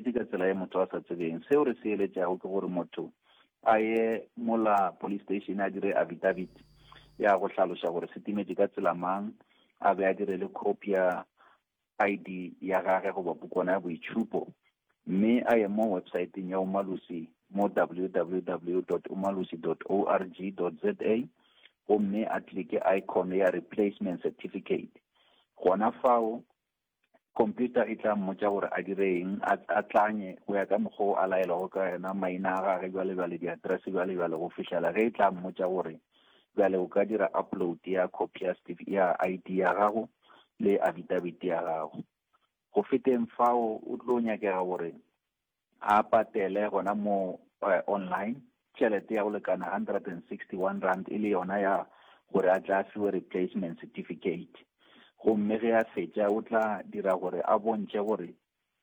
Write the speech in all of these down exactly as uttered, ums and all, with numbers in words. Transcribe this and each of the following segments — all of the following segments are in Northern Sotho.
timetše ka tsela ye motho a sa tsebeng. Seo re se eletšago ke gore motho a ye mola police station a dire affidavit ya go hlaloša gore se timetše ka tsela mang, a be a dire le copy ya I D ya gage goba pukwana ya boitšhupo, mme a ye mo websiteng ya Umalusi mo w w w dot umalusi dot org dot z a gomme a klike icon ya replacement certificate. Gona fao computer e tla mmotša gore a dire eng, a, a tlanye go ya ka mokgwa o a laelwago ka yona, maina a gage bjale bjale, di-address bjale bjale, go fihlela ge e tla mmotša gore bjale o ka dira upload ya copy ya certif-, ya I D ya gago le affidavit ya gago. Go feteng fao o tlo nyakega gore a patele gona mo, eh, online tšhelete ya go lekana hundred and sixty-one rand e le yona ya gore a tla fiwe replacement certificate. Gomme ge a fetša o tla dira gore a bontšhe gore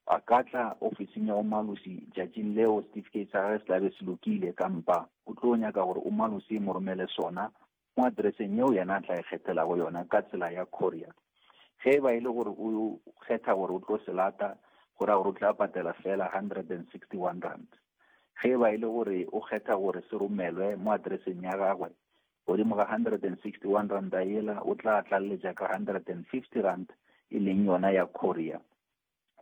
a ka tla ofising ya Umalusi tšatšing leo certificate sa gagwe se tla be se lokile, kampa o tlo nyaka gore Umalusi e mo romele sona mo addresseng yeo yena a tla e kgethelago yona ka tsela ya courier. Ge e ba e le gore o kgetha gore o tlo se lata, go ra gore o tla patela fela hundred and sixty-one rand. Ge e ba e le gore o kgetha gore se romelwe mo addresseng ya gagwe, godimo ga hundred and sixty-one rand a yela o tla tlaleletša ka hundred and fifty rand e leng yona ya courier.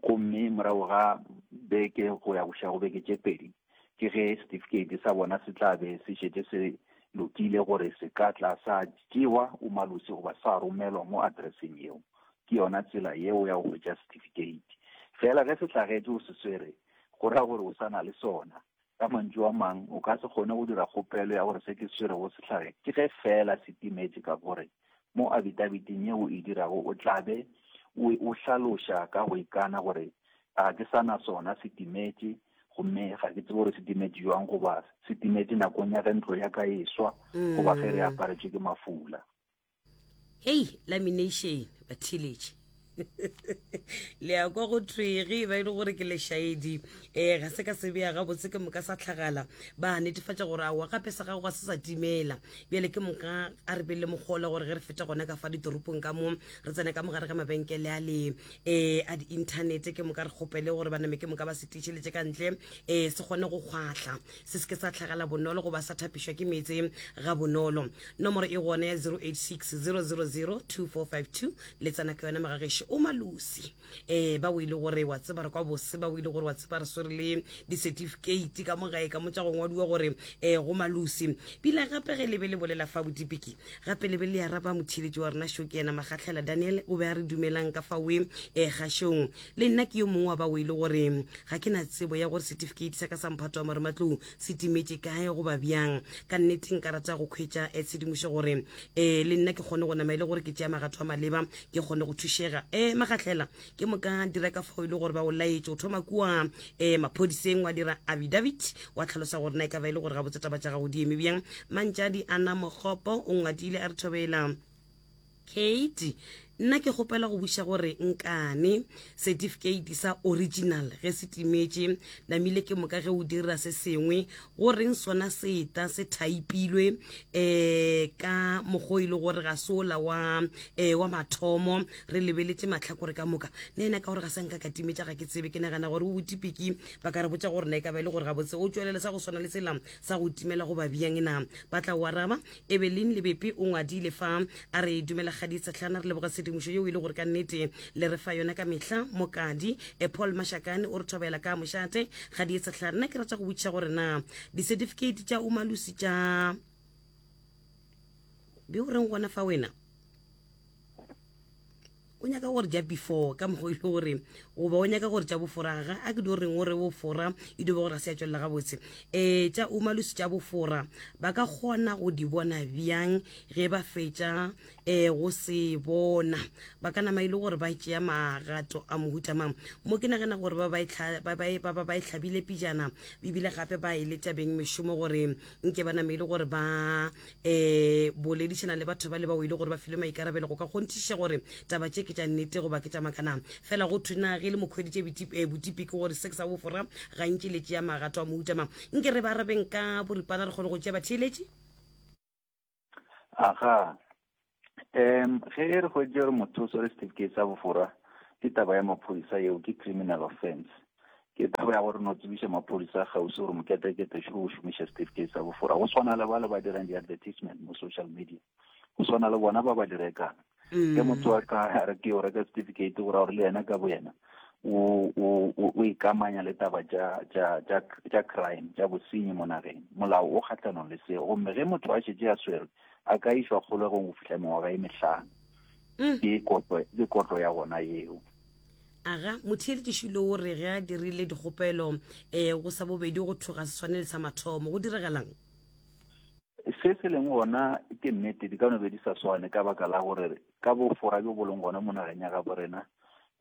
Gomme morago ga beke go ya go ša go beke tše pedi, ke ge certificate sa bona se tla be se šetše se lokile gore se ka tla sa tšewa Umalusi goba sa romelwa mo addresseng yeo. Ke yona tsela yeo ya go hwetša certificate. Fela ge se hlagetše o se swere, go ra gore o sa na le sona. Ka mantšu a mang, o ka se kgone go dira kgopelo ya gore se ke se swerego se hlage, ke ge fela se timetše, ka gore mo affidaviteng yeo e dirago o tla be o, o hlaloša ka go ikana gore ga ke sa na sona, se timetše, gomme ga ke tsebe gore se timetše jwang, goba se timetše nakong ya ge ntlo ya ka e swa, goba ge re aparetšwe ke mafula. Hei, lamination, batheeletše. Le ya kwa go thwe ge e ba e le gore ke lešaedi, eh, ga se ka se bea gabotse ke moka sa tlhagala, ba netefatša gore aowa gape sa gago ga se sa timela. Bjale ke moka a re be le mogola gore ge re feta gona ka fa ditoropong ka mo, re tsene ka mogare ga mabenkele a le, eh, a di-internet, ke moka re kgopele gore ba name ke moka ba se tiišeletše ka ntle, eh, se kgone go kgwahla, se se ke sa tlhagala bonolo goba sa thapišwa ke meetse ga bonolo. Nomoro e gona ya zero eight six zero zero zero two four five two, le tsena ka yona magagešo Umalusi. Eh, ba o ile gore wa tseba re kwa bose, ba o ile gore wa tseba re swere le di-certificate ka mo gae ka mo tša go ngwadiwa gore, eh, go Malusi. Pila gape ge le be le bolela fa bodipiki, gape le be le araba motheeletši wa rena šo ke yena Magatlhela Daniel, o be a re dumelang ka faoe, eh, kgašong. Le nna ke yo mongwe wa ba o ile gore ga ke na tsebo ya gore certificate sa ka sa mphato wa marematlou se timetše kae goba bjang. Ka nnete nka rata go hwetša, eh, tshedimošo gore, eh, le nna ke kgone go nama e le gore ke tšea magato a maleba, ke kgone go thušega. Eh, Magatlhela, ke moka dira ka fao e le gore ba o laetše, o thoma kua, eh, maphodiseng wa dira affidavit, wa tlhalosa gore na e ka ba e le gore gabotse taba tša gago di eme bjang. Mantšadi Ana Mokgopo o ngwadile a re thobela Kate, nna ke kgopela go buša gore nkane certificate sa original ge se timetše, namile ke moka ge o dira se sengwe, go reng sona seta se thaipilwe, eh, ka mokgwa o e le gore ga se ola wa, eh, wa mathomo, re lebeletše mahlakore ka moka. Nna ena ka gore ga sa nka ka timetša ga ke tsebe, ke nagana gore o botipiki ba ka re botša gore na e ka ba e le gore gabotse o tšwelele sa go swana le sela sa go timela goba bjang na. Ba tla o araba. Evelyn Lebepe o ngwadile fa a re dumela Kgadi Sehlana, re leboga tshedimošo yeo e le gore ka nnete le re fa yona ka mehla. Mokadi, eh, Paul Mashakane o re thobela ka mošate. Kgadi Sehlana, nna ke rata go botšiša gore na di-certificate tša Umalusi tša be o reng gona fa wena o nyaka gore ja before ka mokgwa e le gore goba o nyaka gore tša bofora ga a ke di reng o re bofora e di bo gore ga se ya tšwelela gabotse. Eh, tša Umalusi tša bofora ba ka kgona go di bona bjang ge ba fetša, eh, go se bona? Ba ka nama e le gore ba tšea magato a mohuta mang? Mo ke nagana gore ba ba e tlha-, ba ba e, ba ba ba e hlabile pijana, ebile gape ba e letša beng mešomo gore nke ba name e le gore ba, eh, boledišana le batho ba le bao e le gore ba filwe maikarabelo go ka kgonthiša gore taba tše ke tša nnete goba ke tša makana. Fela go thwe na ge le mokhweditše botip-, eh, botipi ke gore se ke sa bofora gantši le tšea magato a mohuta mang. Nke re ba arabeng ka boripana re kgone go tšea batheeletši. Aga, em, ge re hweditše gore motho o swere certificate sa bofora, ke taba ya maphodisa yeo, ke criminal offense. Ke taba ya gore no tsebiša maphodisa a kgauswi gore moketekete šo o šomiša certificate sa bofora. Go swana le ba le ba dirang di-advertisement mo social media, go swana le bona ba ba di rekang. Ge motho a ka a re ke yo reka certificate, go ra gore le yena ka bo yena o o o ikamanya le taba tša tša tša tša crime, tša bosenyi mo nageng. Molao o kgahlanong le seo, gomme ge motho a šetše a swerwe a ka išwa kgolegong go fihla mengwaga e mehlano. Ke kotlo, ke kotlo ya gona yeo. Aga, motheeletši o re ge a dirile dikgopelo um go sa bobedi go thoga se swane le sa mathomo, go diregalang? Se se leng gona ke nnete, di ka no be di sa swane ka baka la gore ka bofora bjo bo leng gona mo nageng ya gabo rena,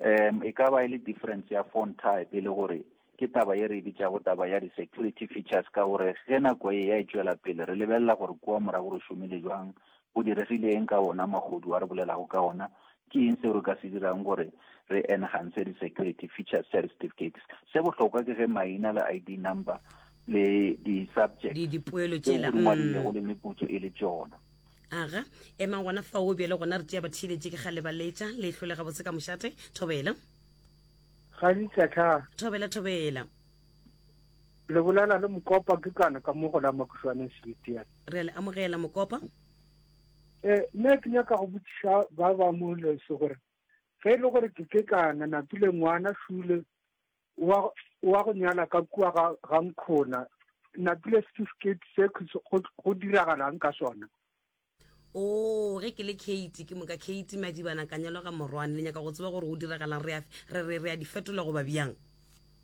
um e ka ba e le difference ya phone type, e le gore ke taba ye re e bitšago taba ya di-security features, ka gore ge nako e ya e tšwela pele re lebelela gore kua morago re šomile jwang, go diregile eng ka ona magodu a re bolelago ka ona, ke eng seo re ka se dirang gore re enhance di-security features tša di-certificates. Se bohlokwa ke ge maina le I D number le di-subject di dipoelo tseo tšela di ngwadilego le meputso e le tšona. Aga, emang gona fao bjale gona re tšea batheeletše ke gale ba letša le hlole gabotse ka mošate. Thobela. Ga ditšatšha. Thobela, thobela. Le bolela le Mokopa, ke kana ka mo go la Makušwane Sebitiana. Re a le amogela, Mokopa. Um nna ke nyaka go botšiša ba ba mo lese gore ge e le gore ke ke kana napile ngwana šule wa wa go nyala ka kua ga ga nkhona, napile certificate se go go diragalang ka sona? O ge ke le Kate, ke moka Kate Madibana ka nyalwa ga Morwane, le nyaka go tseba gore go diragalang, re a re re re a di fetola goba bjang?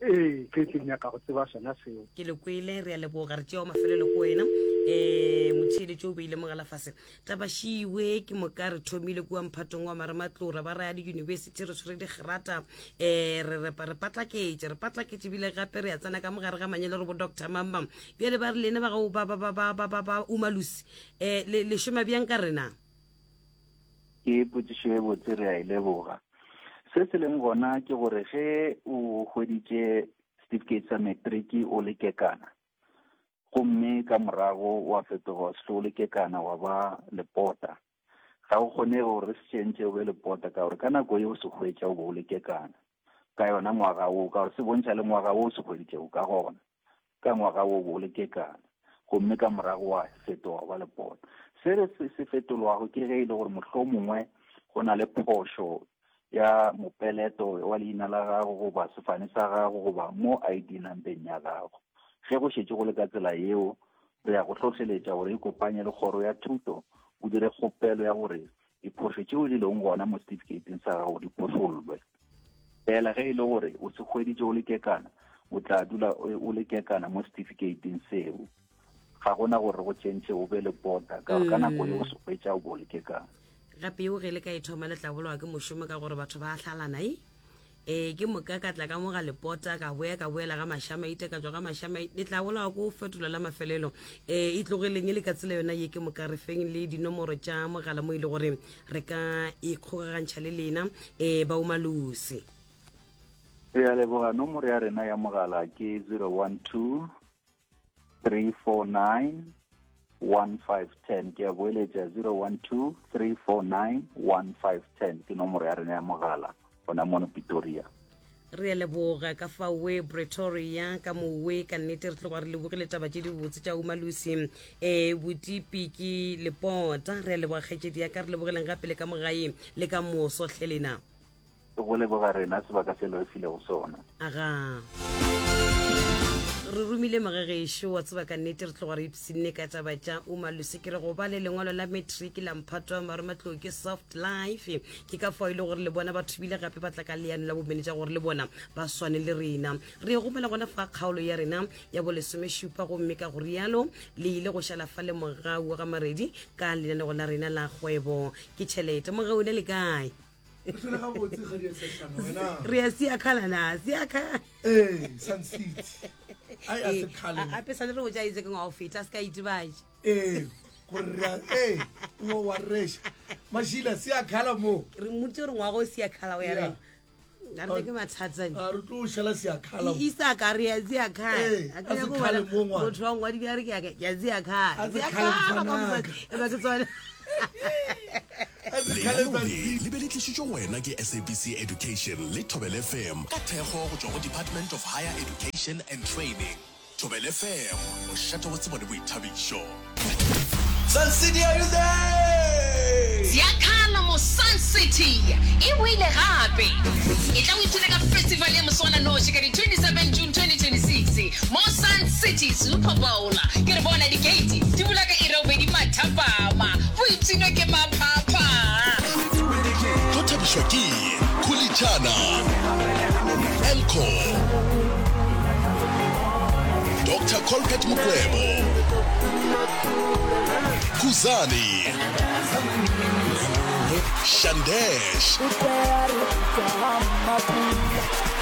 Ee, ke ke nyaka go tseba sona seo. Ke le kwele, re a leboga. Re tšeo mafelelo ko wena um motheeletši o beile mogala fase tabašiwe. Ke moka re thomile kua mphatong wa marematlora ba raya di-university, re tshwere digrata um re re re patlaketše re patlaketše ebile gape re a tsena ka mogare ga manyalo re bo Doctor Mamba. Bjale ba re lene ba ga ba ba ba ba ba ba ba Umalusi, um le le šoma bjang ka rena? Ke potšišo e botse, re a e leboga. Se se leng gona ke gore ge o hweditše certificate sa matric o le kekana, gomme ka morago wa fetoga wa se o le kekana wa ba lepota, ga go kgonege gore re se tšhentšhe o be lepota, ka gore ka nako ye o se hwetša o be o le kekana ka yona ngwaga wo, ka gore se bontšha le ngwaga wo o se hweditšego ka gona, ka ngwaga wo bo o le kekana, gomme ka morago wa fetoga ba lepota. Se re se se fetolwago ke ge e le gore mohlomongwe go na le phošo ya mopeleto wa leina la gago goba sefane sa gago goba mo I D numbeng ya gago. Ge go šetše go le ka tsela yeo, re ya go hlohleletša gore e kopanye le kgoro ya thuto, o dire kgopelo ya gore diphošo tšeo di leng gona mo certificateng sa gago di phošollwe. Fela ge e le gore o se hweditše o le kekana, o tla dula o le kekana mo certificateng seo. Ga gona gore go tšhentšhe o be lepota, ka gore ka nako ye o se hwetša o bo o le kekana. Gape eo ge le ka e thoma le tla bolawa ke mošomo, ka gore batho ba hlalana e ee ke moka ka tla ka mo ga lepota, ka boya ka boela ga Mašamaite, ka tswa ga Mašamaite, le tla bolawa ko fetola la mafelelo. um e tlogeleng e le ka tsela yona ye. Ke moka re feng le dinomoro tša mogala mo e le gore re ka ikgokagantšha le lena um ba Umalusi. Re a leboga. Nomoro ya rena ya mogala ke zero one two three four nine one five ten. Ke a boeletša, zero one two three four nine one five ten ke nomoro ya rena ya mogala gona mono Pretoria. Re a leboga ka fawe Pretoria ka mowe. Ka nnete re tloga re lebogile taba tše dibotse tša Umalusi. um botipi ke lepota, re a leboga kgaetšedi ya ka. Re lebogileng gape le ka mogae le ka moso hle lena. Go leboga rena sebaka se le re filego sona. Aga, re romile mogagešo wa tseba. Ka nnete re tloga re ipshinne ka taba tša Umalusi. Ke re go ba le lengwalo la matric la mphato wa marematlou ke soft life. Ke ka fao e le gore le bona batho bile gape ba tla ka leano la bomenetša gore le bona ba swane le rena. Re e gomela gona fa kgaolo ya rena ya bolesomešupa, gomme ka go rialo le ile go šala fa le mogau wa ga Maredi ka lenanego la rena la kgwebo ke tšhelete. Mogau ne le kae? Re hlole gabotse, ga di a sešana wena. Re ya siakhala na siakhala? Ee, Sun City ai a se kgale. Ape sale re botša itse ke ngwa go feta a se ka itebatše. Ee, gore re a ee o wa reša mašila siakhala mo. Re mmoditse gore ngwaga o siakhala o ya Yeah. reng a re ke mathata. A re tlo šala siakhala mo. Isaka re ya Ee, a se kgale mo ngwana. Motho wa ngwadi a re ke ya- ke ya A se kgale mfanaka. eba ke tsone. Lenaneo le le be le tlišitšwe go wena ke S A B C Education le Thobela F M ka thekgo go tšwa go Department of Higher Education and Training. Thobela F M, mošate wa tsebo le boithabišo. Sun City, are you there? Ziakhala mo Sun City e boile gape. E tla o ipshine ka festival ya moswananoši ka di twenty-seven June twenty twenty-six mo Sun City Super Bowl. Ke re bona di-gate di bula ka iri ya bobedi mathapama. Boipshino ke maphapha. Tlo thabišwa ke Khulitšana, Elco, Doctor Colbert Mokwebo, Khuzani, Shandesh,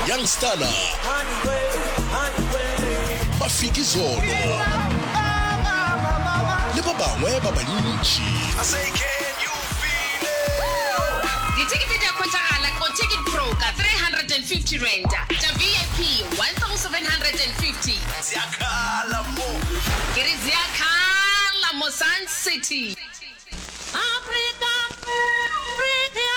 Young Stunna, Mafikizolo le ba bangwe ba bantši. I say, can you feel it? Dithekete di a hwetšagala go Ticket Pro ka three hundred and fifty rand, tša V I P one thousand seven hundred and fifty. Ziakhala mo. Ke re ziakhala mo Sun City. Afrika, Afrika.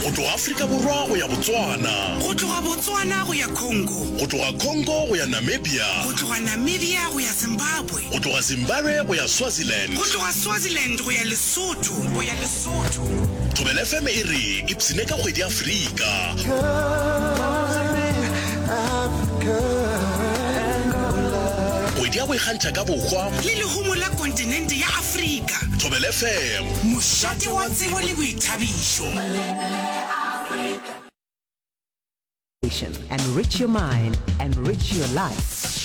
Go tloga Afrika Borwa go ya Botswana, Go tloga Botswana go ya Congo, go tloga Congo go ya Namibia, go tloga Namibia go ya Zimbabwe, go tloga Zimbabwe go ya Swaziland, go tloga Swaziland go ya Lesotho, go ya Lesotho. Thobela F M e re ipshine ka kgwedi ya Afrika. Kgwedi ya go ikgantšha ka bohwa le lehumo la kontinente ya Afrika. Thobela F M, mošate wa tsebo le boithabišo. Enrich your mind, enrich your life.